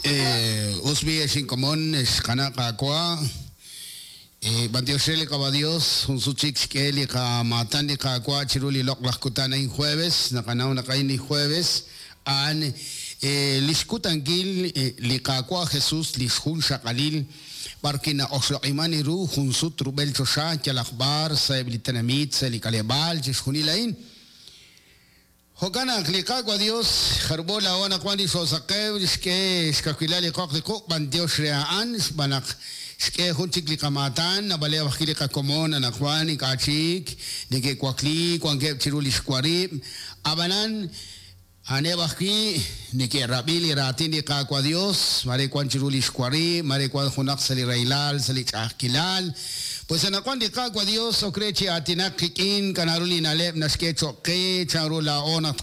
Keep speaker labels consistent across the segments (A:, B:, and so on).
A: Us b'i' ex inkomon, ex qana' Qaawa', b'antiox re li Qaawa' Dios, jun sut chik xk'e li qamaatan li Qaawa' chiru li loq'laj kutan a'in jueves, naqanaw naq a'in li jueves, a'an lix kutankil li Qaawa' Jesus lix junxaqalil, b'ar wi' na'oxloq'iman ru jun sut rub'el choxa yalaq b'ar sa'eb' li tenamit, sa' li k'aleb'aal, chixjunil a'in. Jo'kan naq li Qaawa' Dios, jarub'o laa'o anaqwan li xoosaqew, xk'e xkawilal li qoq li quq' b'antiox re a'an, xb'aan naq xk'e jun chik li qamaatan, naab'aleb' ajwi' li qakomon anaqwan ink'a' chik neke'wakli, wankeb' chiru lix warib', a'b'anan a'aneb' ajwi' neke'rab'i li raatin li Qaawa' Dios, maare wan chiru lix warib', maare wan junaq sa' li rahilal, sa' li ch'a'ajkilal. Pues anaqwan li Qaawa' Dios ok re chi aatinak qik'in, k'anaru li na'leb' naxk'e cho'q qe, chanru laa'o naq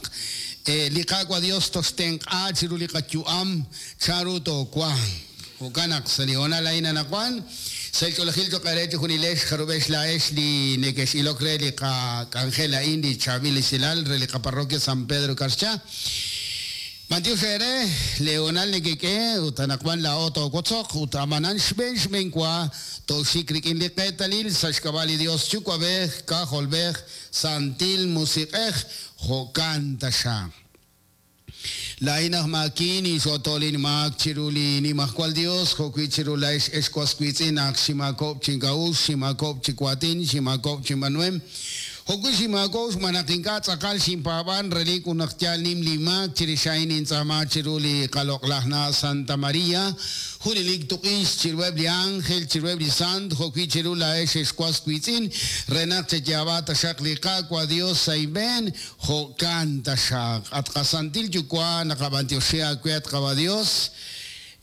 A: li Qaawa' Dios toxtenq'a chiru li qayu'am, chanru toowanq. Jo'kan naq sa' li hoonal a'in anaqwan, sa' li ch'oolejil cho'q eere chejunilex jarub'ex laa'ex li nekex'ilok re li qak'anjel a'in, li chaab'il esilal re li qaparroquia San Pedro Carchá. B'antiox eere, lee hoonal nekek'e ut anaqwan laa'o toowotzoq ut a'b'anan xb'een xb'een wa tooxik rik'in li qeetalil sa' xk'ab'a' li Dios Yuwa'b'ej, K'ajolb'ej, Santil Musiq'ej, jo'kan taxaq. Laa'in aj maakin, inxo'toolin maak chiru li Nimajwal Dios, jo'wi' chiru laa'ex ex was wiitz'in naq xinmaakob'k chi ink'a'uxl, xinmaakob'k chi waatin, xinmaakob'k chi inb'aanuhem. Jo'wi' xinmaakob'k xb'aan naq ink'a' tz'aqal xinpaab'an, relik ut naq yaal nim linmaak, chirix a'in nintz'aama chiru li qaloq'laj na' Santa María, junelik tuq'ix chiruheb' li ánjel, chiruheb' li sant, jo'wi' chiru laa'ex ex was wiitz'in, re naq cheyaab'a taxaq li Qaawa' Dios sa' inb'een, jo'kan taxaq. At qaSantil Yuwa', naqab'antioxi aawe, at Qaawa' Dios,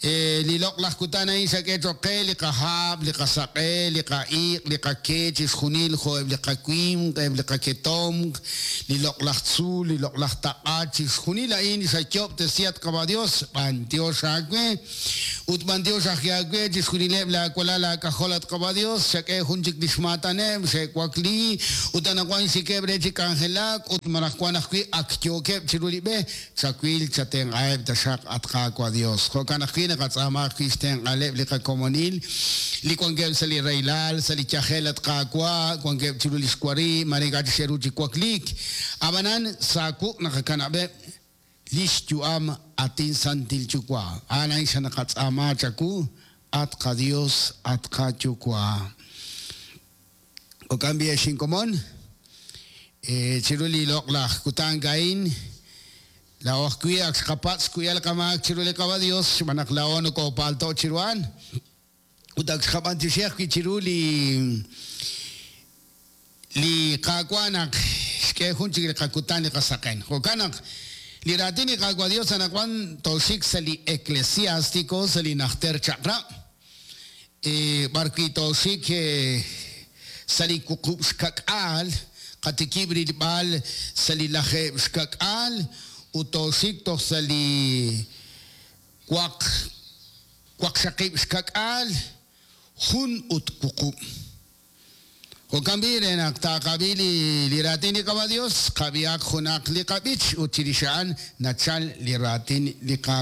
A: Li loq'laj kutan a'in xak'e cho'q qe li qahab', li qasaq'e, li qa'iq', li qake, chixjunil jo' eb' li qawimq, eb' li qaketomq, li loq'laj tzuul, li loq'laj taq'a, chixjunil a'in xayoob'tesi at Qaawa' Dios, b'antiox aawe. Ut b'antiox ajwi' aawe chixjunileb' laawalal aak'ajol at Qaawa' Dios, xak'e jun chik li xmaataneb', xe'wakli ut anaqwan xikeb' re chi k'anjelak ut malaj wan ajwi' ak yookeb' chiru li b'e, Chawil, chatenq'aheb' taxaq, at Qaawa' Dios. Jo'kan ajwi' naqatz'aama ajwi' xtenq'aaleb' li qakomonil li wankeb' sa' li rahilal, sa' li yajel, at Qaawa', wankeb' chiru lix warib', maare ink'a' chik xe'ru chi wakliik. A'b'anan, sa' wuq' naqakanab'eb' lix yu'am, at inSantil Yuwa'. A'an a'in xanaqatz'aama chawu, at qaDios, at qaYuwa'. Jo'kan b'i' ex inkomon, chiru li loq'laj kutan a'in, laa'o ajwi' ak xqapatz' xkuyb'al qamaak chiru li Qaawa' Dios xb'aan naq laa'o nokoopalto' chiru a'an, ut ak xqab'antioxi ajwi' chiru li li Qaawa' naq xk'e jun chik li qakutan li qasaqen. Jo'kan naq li raatin li Qaawa' Dios anaqwan tooxik sa' li Eclesiástico, sa' li Najter Chaq'rab'. B'ar wi' tooxik sa' li 60, qatikib' rilb'al sa' li 70 ut tooxik toj sa' li 8 68. Jo'kan b'i' re naq taaqab'i li raatin li Qaawa' Dios, qab'ihaq junaq li qab'ich ut chirix a'an nachal li raatin li Qaawa'.